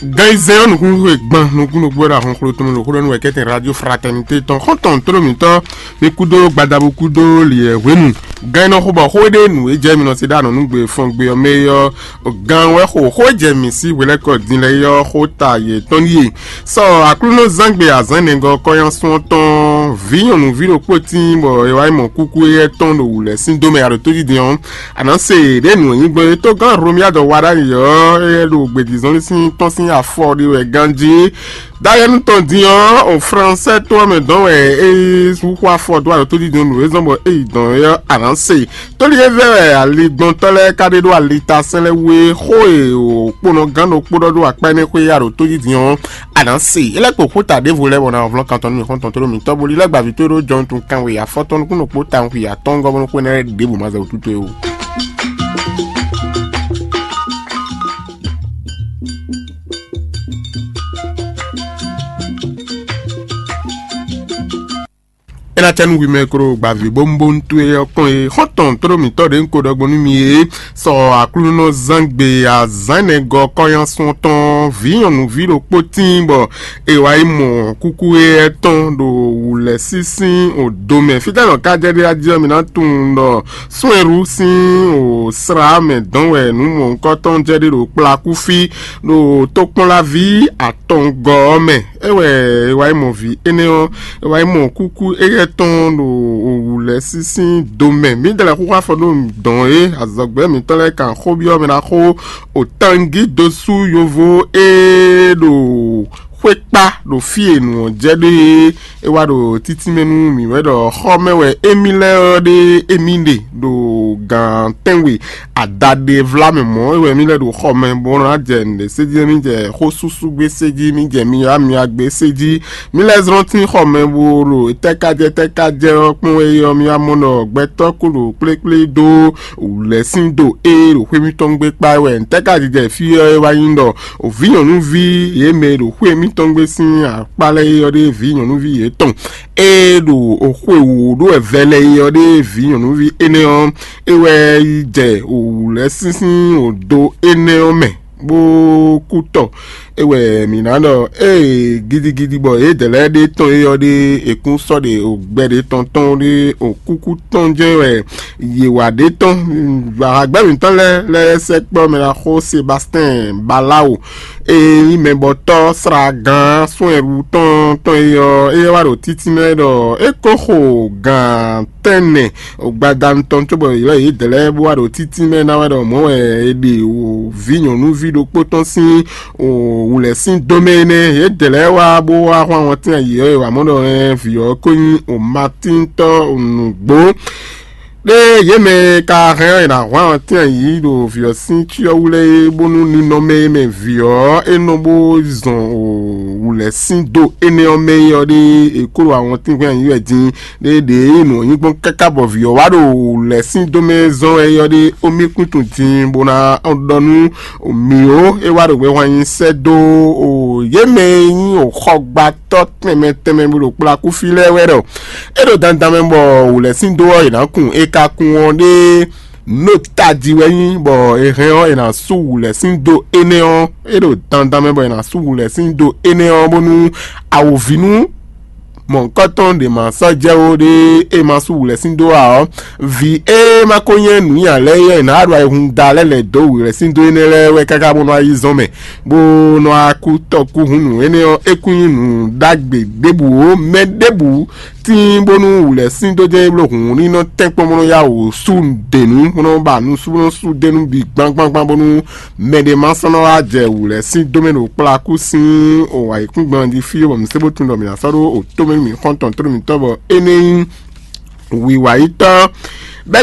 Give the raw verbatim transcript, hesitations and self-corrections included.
Gan yi zɛn ɔ́ nukúnnú e gban nukúnnú gbɔ́ ɖo ahɔn xló tɔn mɛ ɖo xó ɖɔ nú wɛ kɛ́tɛn radio fraternité tɔn xɔ́ntɔn tó ɖo mǐtɔn mi kúdó gbadabu kúdó liɛ hwenu. Gan yi nɔ xo bɔ xó e ɖe nǔ e jɛ mi nɔ se ɖo anɔ̌nugbe fɔngbe ɔ́ mɛ é ɔ́, gan wɛ xo xó e jɛ mǐ sí hwelɛ́kɔ din lɛ́ɛ é ɔ́ xó ta yětɔn ɖíe. Sɔ Aklúnɔzángbe azǎn nɛgɔ́ kɔ́nyásún ɔ́ tɔn vǐ nyɔ̌nuví ɖokpó tíin bɔ è wá yi mɔ kúkú éyɛ́ tɔn ɖo wǔ lɛ́ɛ sín dó mɛ aɖǒ tójídin ɔ́, a nǎ se ɖě nǔ e nyí gbɔn é tógán Hlomyád ɔ́ wa ɖ'ayǐ ɔ́, éyɛ́ ɖo gbědízɔ́n sín tɔ́n sín afɔ ɖé wɛ ganjí. Dayɛnu tɔn din ɔ́, o Fransɛ tó ɔ́ mɛ dɔn wɛ é yi xú afɔ dó aɖǒ tójídin nǔ e zɔ́n bɔ é yi dɔn é ɔ́, a nǎ se. Tóli e vɛ wɛ aligbɔntɔ́ lɛ́ɛ ka ɖe ɖó alitasɛn lɛ́ɛ wú é, xó e o kponɔ gán ɖokpó ɖɔ ɖó akpá énɛ́ xwé ya ɖo tójídin ɔ́, a nǎ se. É lɛ́ kpo xóta ɖěvo lɛ́ɛ bɔ ná vlɔ́n kan tɔn nú mì xɔ́ntɔn tó ɖo mǐ tɔ́ bó lílɛ́ gbavǐ tó ɖó jɔnutun kanwe afɔtɔn nukúnnú kpó tawun xwi atɔ́ɔ́ngɔ́ bó nú xwé énɛ́ lɛ́ɛ ɖěbǔ ma zɛ wǔtútú é o. É ná cɛ nú hwi mɛ e ko ɖo gbavǐ bónúbónú towe ɔ́ kpɔ́n é, xɔ́ntɔn tlóló mǐtɔn ɖě un ko ɖɔ gbɔn nú mi é, sɔ Aklúnɔzángbe azǎn ɛnɛgɔ́ kɔ́nyásún tɔn vǐ nyɔ̌nuví ɖokpó tíin bɔ è wǎ yi mɔ kúkú éyɛ́ tɔn ɖo wǔlɛ́ sísín odo mɛ. Fítɛ́ nɔ ká jɛ ɖé jí ɔ́, mi ná tunwun ɖɔ súnwɛ́ɖú sín o slá mɛ dɔn wɛ nǔ mɔ̌hunkɔtɔn jɛ ɖé ɖo kplá kú fí ɖo tokpɔnlaví atɔngɔ́ ɔ́ mɛ. É wɛ è wá yi mɔ vǐ énɛ́ ɔ́, è wá yi mɔ kúkú éyɛ́ tɔn ɖo wǔlɛ́ sísín do mɛ. Mǐdɛɛ lɛ́ɛ xúxú afɔ ɖó dɔn é, azɔ̌gbɛ́ mǐtɔn lɛ́ɛ kan xó byɔ́ mɛ ná xó o tangí dosú yovo e ɖo xwé kpá ɖo fí e nǔ ɔ́ jɛ ɖe é. É wá ɖo títí mɛ nú mǐ wɛ ɖɔ xɔ mɛ wɛ émí lɛ́ɛ ɔ́ ɖe émí ɖe ɖo gǎn tɛ́nwe adaɖevla mɛ mɔ̌ é wɛ mí lɛ́ ɖo xɔ mɛ bó ná jɛ nǔɖé sé jí, mí jɛ xó súsú gbé sé jí, mí jɛ myamya gbé sé jí. Mí lɛ́ zlɔ́n tín xɔ mɛ bó ɖo tɛ́kájɛ tɛ́kájɛ ɔ́ kpɔ́n é ɔ́, mí wá mɔ ɖɔ gbɛtɔ́ kú ɖo kplékplé dó wǔlɛ́ sín do é ɖo xwé mǐtɔn gbé kpá wɛ. Ntɛ́ ka jijɛ fí ɔ́ é wá nyí ɖɔ vǐ nyɔ̌nuví yě mɛ e ɖo xwé mǐtɔn gbé sín akpá lɛ́ɛ é ɔ́ ɖe vǐ nyɔ̌nuví yětɔn e ɖo xwe wǒ ɖó wɛ vɛlɛ é ɔ́ ɖe vǐ nyɔ̌nuví énɛ́ ɔ́, é wɛ yi jɛ wǔlɛ́ sínsín odo énɛ́ ɔ́ mɛ bó kú tɔ. É wɛ mǐ ná ɖɔ ée gidigidi bɔ yědɛɛ lɛ́ɛ ɖe tɔn é ɔ́ ɖe è kún sɔ́ ɖe o gbɛ ɖé tɔn tɔn ɖe o kúkú tɔn jɛ́n wɛ yě wá ɖe tɔn. Ahagbɛ́ mǐtɔn lɛ́ɛ lɛ́ɛ sɛkpɔ́ mɛ ná xó Sebastɛ́n Balawo e nyí mɛbɔtɔ́ sragán sɔ́ ɛrú tɔn tɔn é ɔ́, é wá ɖo títí mɛ ɖɔ é kó xo gǎn tɛ́nnɛ gbadanu tɔn cóbɔ ylɔ́ yědɛɛ lɛ́ɛ bó wá ɖo títí mɛ ná wɛ ɖɔ mɔ̌ wɛ è ɖe o vǐ nyɔ̌nuví ɖokpó tɔn sín o wǔlɛ́ sín dó mɛ énɛ́. Yědɛɛ lɛ́ɛ wá bó wá hwán wɔntín ayǐ ɔ́, è wǎ mɔ ɖɔ hɛn vǐ ɔ́ ko nyí o Matíntɔ́ nǔgbó. Ɖé yě mɛ e ka hɛn ɔ́, è nǎ hwán wɔntín ayǐ ɖo vǐ ɔ́ sín cyɔ wú lɛ́ɛ é, bónú ninɔmɛ e mɛ vǐ ɔ́ é nɔ bó zɔn wǔlɛ́ sín dó énɛ́ ɔ́ mɛ é ɔ́ ɖe è kó ɖo awɔntín hwɛ́n ayǐ wɛ din. Ɖé ɖě nǔ ɔ́ nyí gbɔn káká bɔ vǐ ɔ́ wá ɖo lɛ̌ sín dó mɛ zɔ́n wɛ é ɔ́ ɖe, ó mì kún tunwun din bó ná ɖɔ nú mǐ ó. É wá ɖo hwɛhwan nyi sɛ́ dó o yě mɛ e nyí o xɔgbátɔ́ tɛnmɛ tɛnmɛ bó ɖo kplá kú fí lɛ́ɛ wɛ ɖɔ é ɖo dandan mɛ bɔ wǔ lɛ́ sín dó ɔ́, è nǎ kun é ka kun ɔ́ ɖé nɔ tají wɛ nyí bɔ è hɛn ɔ́, è nǎ sú wǔ lɛ́ sín dó énɛ́ ɔ́. É ɖo dandan mɛ bɔ è nǎ sú wǔ lɛ́ sín dó énɛ́ ɔ́ bónú awǒvínú mɔ̌hunkɔtɔn ɖě ma sɔ́ jɛ ó ɖé e ma sú wǔlɛ́ sín dó ǎ ɔ́, vǐ e ma ko nyɛ nǔnywɛ́ lɛ́ɛ é ɔ́, è nǎ ɖo ayihún da lɛ́ lɛ̌ dó wǔlɛ́ sín dó énɛ́ lɛ́ɛ wɛ káká bó nɔ́ wá yi zɔ́n mɛ, bó nɔ́ wá kú tɔkúhún nǔ énɛ́ ɔ́, é kún nyí nǔ ɖagbe ɖěbǔ ó. Mɛ ɖěbǔ tíin bónú wǔlɛ́ sín dó jɛ́n é bló hǔn ní nɔ́ tɛ́nkpɔ́n bó nɔ́ yá wǔ sú nǔɖé nú bó nɔ́ ba nǔ sú bó nɔ́ sú dó nú bǐ gbangbangbán bónú mɛ ɖé ma sɔ́ nɔ wá jɛ wǔ lɛ́ɛ sín dó mɛ ɖo kplá kú sín o ayǐkúngban jí fí bɔ mǐ sé bó tunwun ɖɔ mǐ ná sɔ́ ɖó o tó mɛ nú mǐ xɔ́ntɔn tló mǐtɔn bɔ énɛ́ nyí wiwa yi tɔn. Bɛ́